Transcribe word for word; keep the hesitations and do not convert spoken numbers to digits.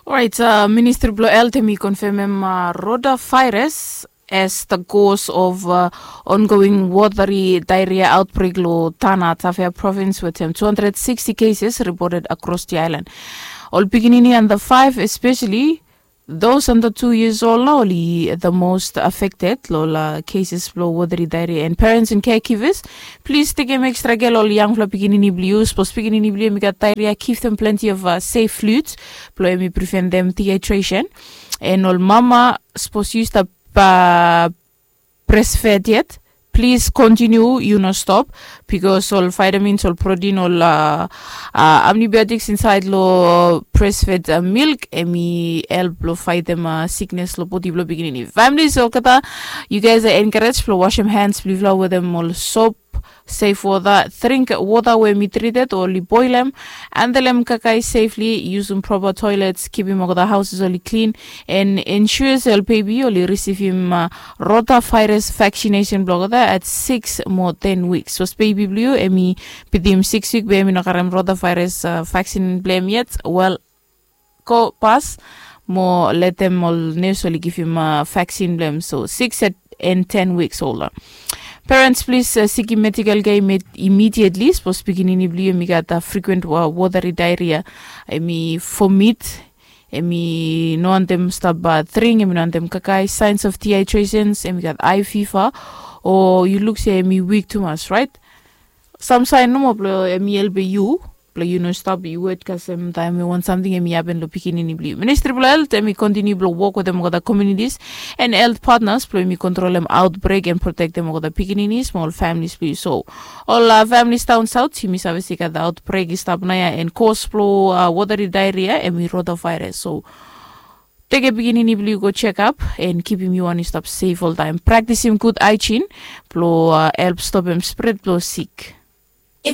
Orait, ministri blong health em i konfemem rotavirus as the cause of ongoing watery diarrhea outbreak long Tana Tafea province wetem two hundred sixty cases reported across the island. Ol pikinini under five, especially those under two years old, na oli the most affected long ol cases blong watery diarrhea. And parents and caregivers, plis tekem extra care long ol yangfala pikinini blong yu. Sapos pikinini blong yu em i gat diarrhea, give them plenty of safe fluids blong em i prevent them dehydration. And ol mama, sapos yu stap breastfed yet, plis continue, yu no stop, because ol vitamins, ol protein, ol amnibiotics insaed long breastfed milk em i help long faetem sickness long bodi blong pikinini. Families olgeta, you guys are encouraged blong wasem hands blong yufala wetem ol soap, safe water, drink water we em i treated o oli boilem, handlem kakae safely, yusum proper toilets, kipim olgeta houses oli clean, and ensure se ol baby oli risivim rotavirus vaccination blong olgeta at six mo ten weeks. Sapos baby blong yu em i bitim six week be em i no karem rotavirus vaccine blong em yet, wel, go pas mo letem ol nurse oli givim vaccine blong em. So six and ten weeks old. Parents, plis sikim medical care immediately. Sapos pikinini blong yu em i gat frequent watery diarrhea, em i vomit, em i no wantem stap dring, em i no wantem kakae, signs of dehydrations, em i gat high fever, o yu luk se em i weak tumas, right? Sam saen nomo blong em i helpem yu blong yu no stap i wet kasem taem we wan samting em i hapen long pikinini blong yu. Ministri blong health em i kontiniu blong wok wetem olgeta communities and health partners blong em i kontrolem outbreak and protektem olgeta pikininis mo ol families blong yu. So ol families daon saot, yumi save se i gat outbreak i stap naoia, and cause blong watery diarrhea em i rotavirus. So tekem pikinini blong yu go check up and kipim yu wan i stap safe oltaem. Praktisim gud hygiene blong help stopem spread blong sik.